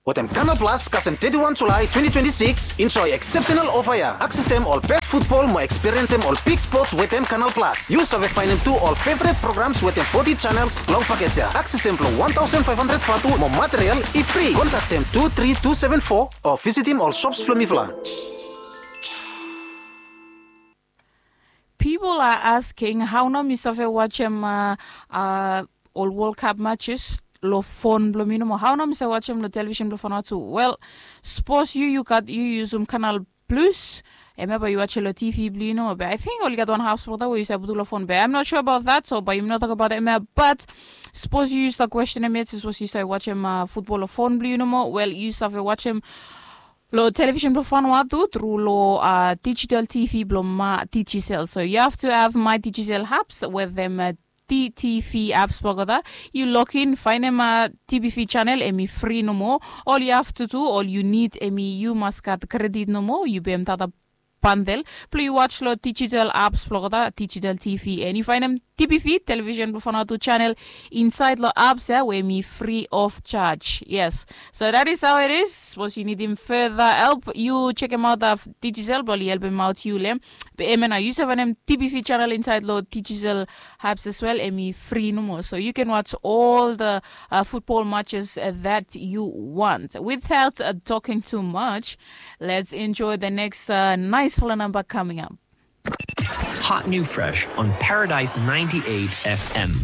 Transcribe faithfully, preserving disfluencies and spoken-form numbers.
Wetem Kanal Plus kasem teti wan Julae twenti twenti sikis, enjoe eksepsenal ofa ya. Aksesem ol bes futbol mo ekspiriensem ol big spots wetem Kanal Plus. Yu save faenem tu ol feveret programs wetem foti janels long pakej ya. Aksesem blong wan taosen faef handred vatu mo material i fri. Kontaktem tu tri tu seven fo o visitim ol sops blong mifala. People are asking hao nao mi save wajem ol World Cup matches long fon blong mi nomo. Hao nao mi save wajem long television blong fon tu? Wel, sapos yu yu gat yu yusum Kanal Plus, hemia bae yu wajem long TV blong yu nomo. Be ating oli gat wan hap spot we yu save putum long fon. Be I'm not sure about that, so bae yumi no tokbaot hemia. But sapos yu yusum da kwesten hemia, sapos yu save wajem futbol long fon blong yu nomo, wel, yu save wajem long television blong Vanuatu tru long digital TV blong MyDigicel. So you have to have MyDigicel apps wetem DTV apps blong olgeta. Yu login, faenem TBV channel, hemi fri nomo. Ol yu have to do, ol yu nid, hemi yu mas gat kredit nomo, yu pem data bandel blong yu waj long digital apps blong olgeta, digital TV, and yu faenem TBV, television blong Vanuatu channel, insaed long apps ya we hemi free of charge. Yes. So that is how it is. Sapos yu nidim further help, yu jekemaot Digicel blong oli helpemaot yu long hem. Be hemia nao, yu save faenem TBV channel insaed long Digicel apps as well, hemi fri nomo. So you can watch all the uh, football matches uh, that you want. Without uh, talking too much, let's enjoy the next uh, nice fala number coming up. Hot new fresh on Paradise ninety-eight F M.